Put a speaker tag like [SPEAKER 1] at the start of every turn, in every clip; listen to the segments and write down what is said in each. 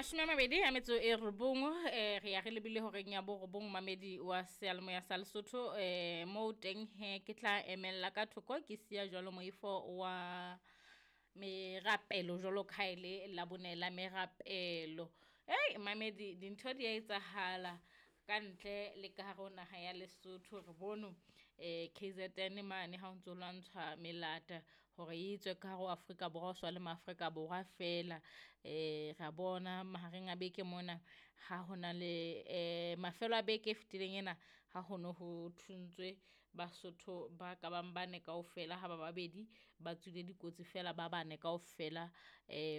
[SPEAKER 1] 29 re ya re lebile horeng ya borobong mamedi wa seyalemoya sa Lesotho moo teng he ke tla emella ka thoko ke siya jwalo moifo wa merapelo jwalo ka ha e le Labone la merapelo. Ei mamedi dintho di a etsahala ka ntle le ka hare ho naha ya Lesotho. Re bone KZN mane ha o ntso lwantshwa melata hore e tswe ka hare ho Afrika Borwa, ho sa le maAfrika Borwa feela. Ra bona mahareng a beke mona ha hona le mafelo a beke e fetileng ena ha ho no ho thuntswe Basotho ba ka bang bane kaofela, ha ba babedi ba tswile dikotsi fela ba bane kaofela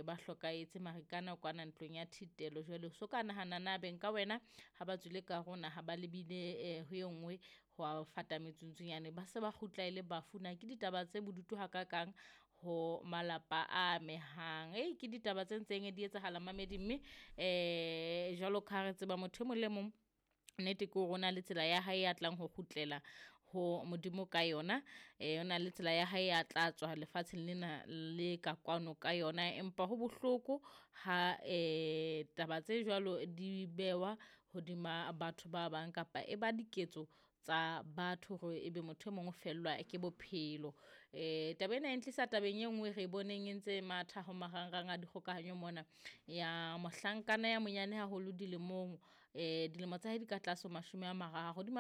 [SPEAKER 1] ba hlokahetse Marikana kwana ntlong ya thitelo. Jwale so ka nahana na beng ka wena ha ba tswile ka hare ho naha ba lebile ho e nngwe ho a fata metsuntsunyane ba se ba kgutla e le bafu. Na ke ditaba tse bodutu hakakang ho malapa a amehang. Ei ke ditaba tse ntseng di etsahala mamedi, mme jwalo ka ha re tseba motho e mong le mong nnete ke hore o na le tsela ya hae ya tlang ho kgutlela ho Modimo ka yona. O na le tsela ya hae ya tla tswa lefatsheng lena le ka kwano ka yona, empa ho bohloko ha taba tse jwalo di bewa hodima batho ba bang kapa e ba diketso tsa batho hore ebe motho e mong o fellwa ke bophelo. Taba ena e ntlisa tabeng e nngwe re boneng e ntse matha ho marangrang a dikgokahanyo mona ya mohlankana ya monyane haholo dilemong, dilemo tsa hae di ka tlase ho 30, di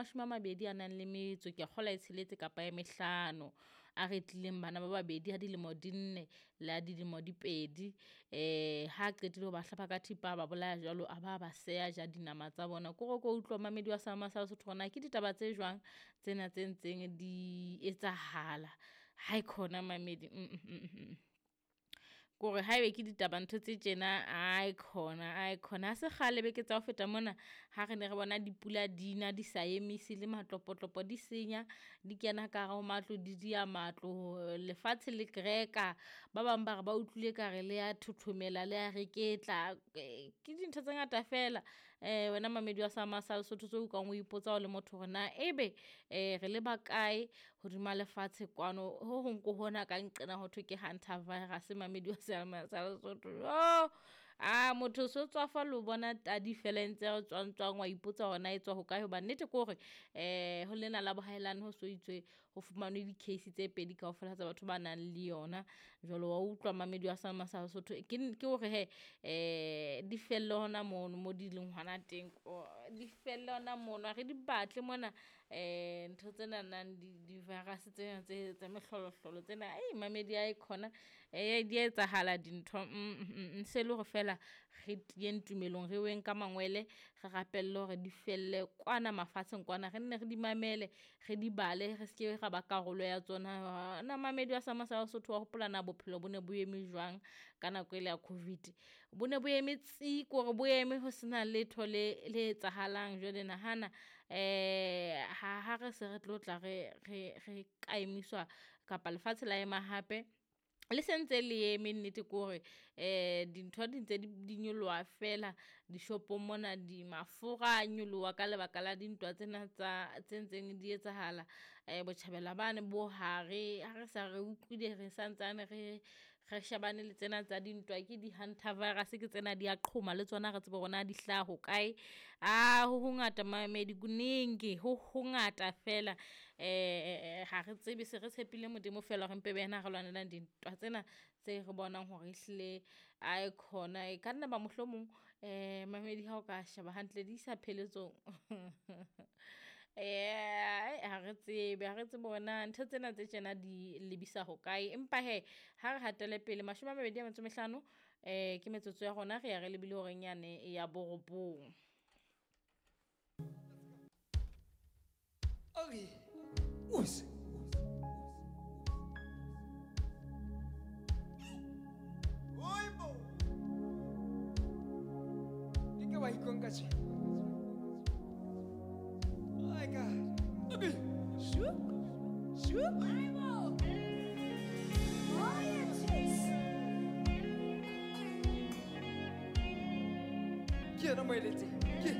[SPEAKER 1] 20 a nang le metso ke a kgolwa e tsheletse kapa e mehlano, a re tlileng bana ba babedi ha dilemo di 4 le ha dilemo di 2. Ha qetile ho ba hlaba ka thipa ba bolaya jwalo, a ba ba seya ja dinama tsa bona. Kore ko utlwa mamedi wa sa Sesotho hore na ke ditaba tse jwang tsena tse ntseng di etsahala. Ha e khona mamedi kore haebe ke ditaba ntho tse tjena, ai khona ai khona. Ha se kgale beke tsa ho feta mona ha re ne re bona dipula di na di sa emise le matlopotlopo di senya, di kena ka hare ho matlo, di diya matlo, lefatshe le kreka. Ba bang ba re ba utlwile ka re le ya thothomela le ya reketla. Ke dintho tse ngata fela wena mamedi wa sa Lesotho tseo o kang o ipotsa o le motho hore na ebe re le ba kae hodima lefatshe kwano. Ho hong ko hona ka nqena ho thwe ke hunter virus mamedi wa sa Lesotho. Jo a motho so tswafa lo bona tadi fela e ntse re tswang tswang, wa ipotsa hore na e tswa hokae. Hoba nnete ke hore ho lena la bohaelane ho so itswe ho fumanwe di-case tse pedi kaofela tsa batho ba nang le yona. Jwale wa utlwa mamedi wa sa Lesotho ke hore he di felle hona mono mo di leng hona teng, di felle hona mono, ha re di batle mona ntho tsena nang di-virus tsena tse mehlolohlolo tsena. Ei mamedi ae khona di a etsahala dintho. Se le hore fela re tiyeng tumelong, re weng ka mangwele, re rapelle hore di felle kwana mafatsheng kwana, re nne re di mamele, re di bale, re seke ra ba karolo ya tsona. Na mamedi wa sa Sesotho wa hopola na bophelo bo ne bo eme jwang ka nako ele ya COVID? Bo ne bo eme tsi, kore bo eme ho sena letho le le etsahalang. Jwale nahana ha re se re tlo tla re ka emiswa kapa lefatshe la ema hape, le sentse le eme. Nnete ke hore dintho di ntse di nyoloha fela dishopong mona, di mafura a nyoloha ka lebaka la dintwa tsena tsa tse ntseng di etsahala botjhabela bane bo hare. Ha re sa re utlwile re santsane re shebane le tsena tsa dintwa, ke di-hunter virus ke tsena di a qhoma le tsona, re tsebe hore na di hlaha hokae. A ho hongata mamedi, kuningi ho hongata fela. Ha re tsebe, se re tshepile Modimo fela hore mpe be yena a re lwanelang dintwa tsena tse re bonang hore ehlile ae khona. E ka nna ba mohlomong mamedi ha o ka sheba hantle di isa pheletsong. Ha re tsebe, ha re tsebe hore na ntho tsena tse tjena di lebisa hokae, empa hee ha re hatele pele. 25 ke metsotso ya rona, re ya re lebile horeng yane ya borobong.
[SPEAKER 2] Okay. Us. Oibo. Ke wa ikonka tje. Oh my God. Okay. Shu. Shu.
[SPEAKER 3] Oibo.
[SPEAKER 2] Ke yena moeletsi.